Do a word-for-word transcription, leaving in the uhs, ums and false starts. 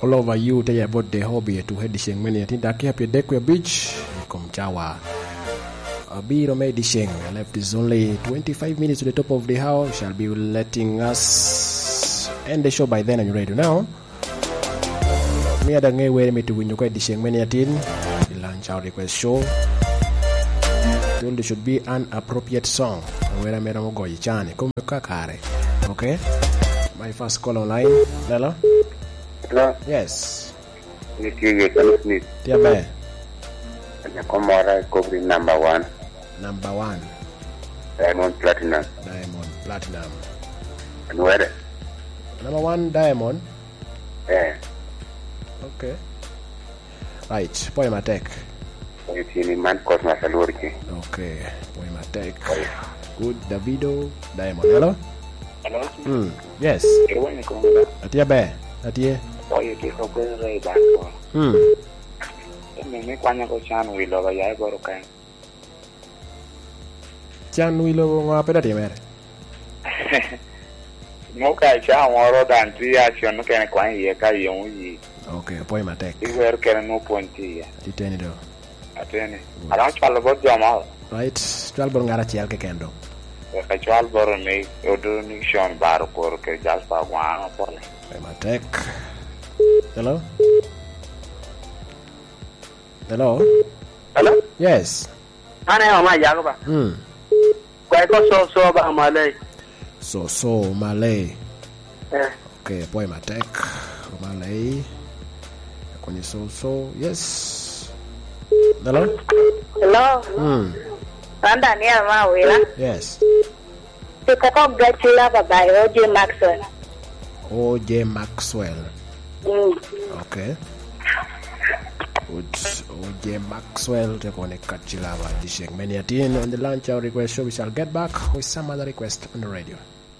All over you, tell you about the hobby to head the sheng many. I think that here, Piedek, we beach, come chawa. Abiro me di sheng. Left is only twenty-five minutes to the top of the hour. Shall be letting us end the show by then, and you ready now? Mi ada nge were mi tuwinyo ko di sheng many atin. Ilan chao request show. Told you should be an appropriate song. Wera mera mo goyi chani. Come kakare. Okay? My first call online. Hello? Hello? Yes. Ni tye ye Kenneth Smith. Tye be. Nyako mora i kobri number one. Number one. Diamond Platinum. Diamond Platinum. Anwere. Number one Diamond. Eh. Okay. Right, pwoyo matek. Pwoyo tye ni man Cosmas Alwor ki. Okay, pwoyo matek. Good, Davido, Diamond. Hello? Hello? Hmm, yes. Irwani kong da. Atye be, atye. Pwoyo tye ko kwero i bako. Hmm. Emi mi kwanya ko can wi loba ya i boro kan. Can wi lobo ŋo a pe dok timere? Nwoŋo ka icaa moro daŋ tye acen mukene kwanyo iye ka yom oyi. Ok, apwoyo matek. Iwero kene nwoŋo pwony tye iye. Atiteni do. Ateni. Good. Adaŋo cwalo bot jo mo. Right, cwal bot ŋat acel keken do. Wek acwal bot ni Odo Nixon Baro Koro kede Jasper Ogwano Pole. Apwoyo matek. Hello? Hello? Hello? Yes. An aye Oma Yago ba. Mm. Kwa iko so so ba Malay. So so Malay. Eh. Okay, pwoyo matek. Malay. Kwenye so so. Yes. Hello? Hello. Mm. An Daniel Mawira. Yes. Tika ko Get Love by O J Maxwell. O J Maxwell. Mm. Okay. Good. O J Maxwell, te kone Get Love, the check. Many a tin on the lunch hour request show. We shall get back with some other request on the radio.